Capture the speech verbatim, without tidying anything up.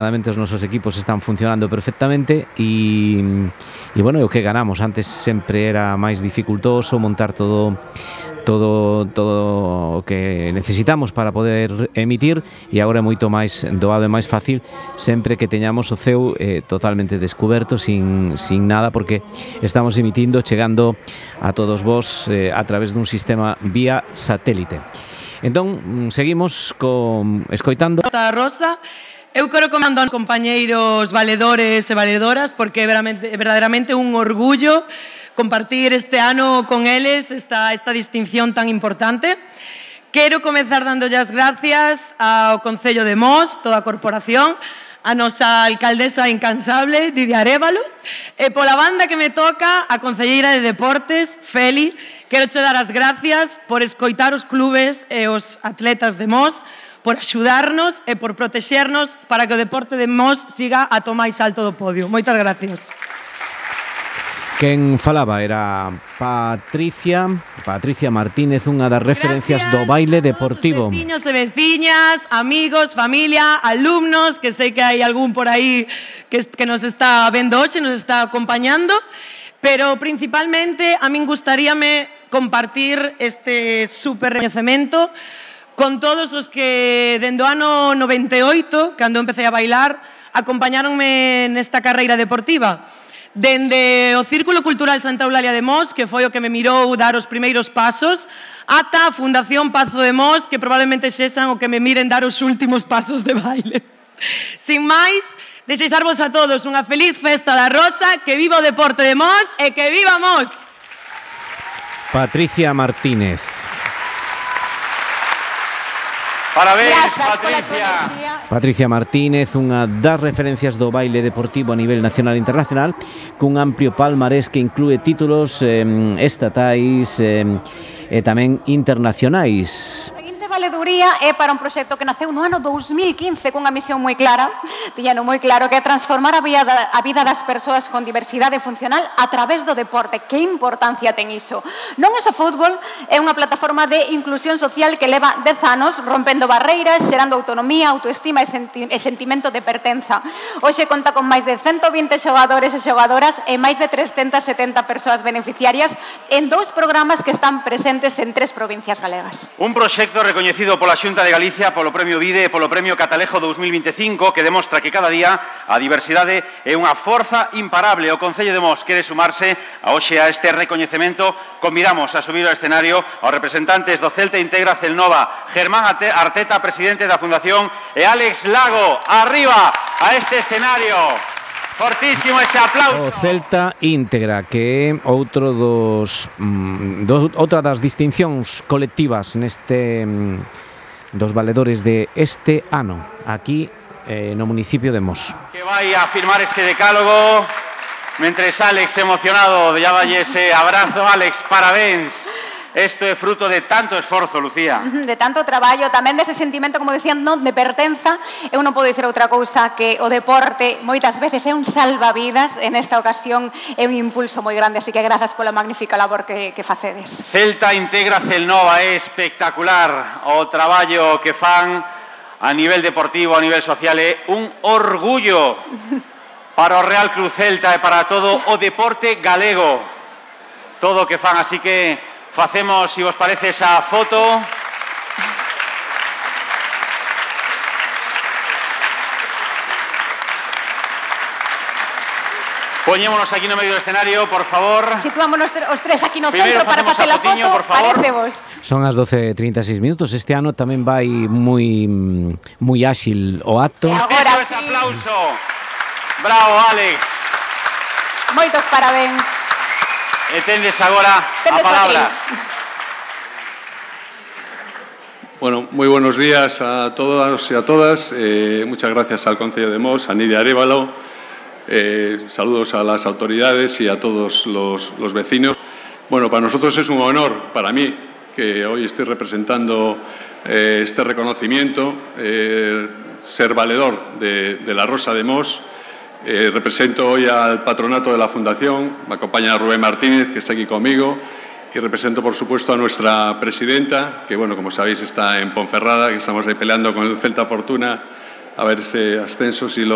Os nosos equipos están funcionando perfectamente e, e bueno, o que ganamos. Antes sempre era máis dificultoso montar todo todo todo o que necesitamos para poder emitir e agora é moito máis doado e máis fácil sempre que teñamos o ceo eh, totalmente descuberto, sin, sin nada, porque estamos emitindo, chegando a todos vos eh, a través dun sistema vía satélite. Entón, seguimos con escoitando a Rosa. Eu quero comando aos compañeiros valedores e valedoras porque é verdadeiramente un orgullo compartir este ano con eles esta, esta distinción tan importante. Quero comezar dándolle as gracias ao Concello de Mos, toda a corporación, a nosa alcaldesa incansable, Lidia Arévalo, e pola banda que me toca, a concelleira de Deportes, Feli. Quero che dar as gracias por escoitar os clubes e os atletas de Mos, por axudarnos e por protexernos para que o deporte de Mos siga a to máis alto do podio. Moitas gracias. Quen falaba era Patricia, Patricia Martínez, unha das referencias do baile deportivo. Veciños e veciñas, amigos, familia, alumnos, que sei que hai algún por aí que, que nos está vendo hoxe, nos está acompañando, pero principalmente a min gustaríame compartir este super recoñecemento con todos os que dende o ano noventa e oito, cando empecé a bailar, acompañáronme nesta carreira deportiva. Dende o Círculo Cultural Santa Eulalia de Mos, que foi o que me mirou dar os primeiros pasos, ata a Fundación Pazo de Mos, que probablemente sexan o que me miren dar os últimos pasos de baile. Sin máis, desexarvos a todos unha feliz festa da Rosa, que viva o deporte de Mos e que viva Mos! Patricia Martínez. Parabéns, Patricia. Patricia Martínez, unha das referencias do baile deportivo a nivel nacional e internacional, cun amplio palmarés que inclúe títulos eh, estatais eh, e tamén internacionais. Valeduría é para un proxecto que naceu no ano dous mil quince cunha misión moi clara, tiñano moi claro, que é transformar a vida, a vida das persoas con diversidade funcional a través do deporte. Que importancia ten iso? Non é só fútbol, é unha plataforma de inclusión social que leva dez anos rompendo barreiras, xerando autonomía, autoestima e, senti e sentimento de pertenza. Hoxe conta con máis de ciento vinte xogadores e xogadoras e máis de trescentas setenta persoas beneficiarias en dous programas que están presentes en tres provincias galegas. Un proxecto recoñecido pola Xunta de Galicia polo Premio Vide e polo Premio Catalejo dous mil vinte e cinco, que demostra que cada día a diversidade é unha forza imparable. O Concello de Mos quere sumarse a hoxe a este recoñecemento. Convidamos a subir ao escenario aos representantes do Celta Integra Celnova, Germán Arteta, presidente da Fundación, e Álex Lago. Arriba a este escenario. Fortísimo ese aplauso. O Celta Íntegra, que é outro dos, mm, do, outra das distincións colectivas neste mm, dos valedores de este ano, aquí eh, no municipio de Mos. Que vai a firmar ese decálogo, mentres Álex emocionado lle dalle ese abrazo. Álex, parabéns. Isto é fruto de tanto esforzo, Lucía. De tanto traballo, tamén dese sentimento, como decían, non de pertenza. Eu non podo dicir outra cousa que o deporte moitas veces é un salvavidas. En esta ocasión é un impulso moi grande, así que grazas pola magnífica labor que, que facedes. Celta Integra Celnova, é espectacular o traballo que fan a nivel deportivo, a nivel social. É un orgullo para o Real Club Celta e para todo o deporte galego. Todo o que fan, así que facemos, se vos parece, esa foto. Poñémonos aquí no medio do escenario, por favor. Situámonos os tres aquí no Primeiro centro para facer a foto. Por favor. Parecevos. Son as doce e trinta e seis minutos. Este ano tamén vai moi moi áxil o acto. E agora ese sí. Aplauso. Bravo, Álex. Moitos parabéns. E tendes agora Tendes a palabra. Bueno, muy buenos días a todos y a todas. Eh, muchas gracias al Concello de Mos, a Lidia Arévalo. Eh, saludos a las autoridades y a todos los, los vecinos. Bueno, para nosotros es un honor, para mí, que hoy estoy representando eh, este reconocimiento, eh, ser valedor de, de la Rosa de Mos. Eh, represento hoy al patronato de la Fundación, me acompaña Rubén Martínez, que está aquí conmigo, y represento, por supuesto, a nuestra presidenta, que, bueno, como sabéis, está en Ponferrada, que estamos ahí peleando con el Celta Fortuna a ver ese ascenso si lo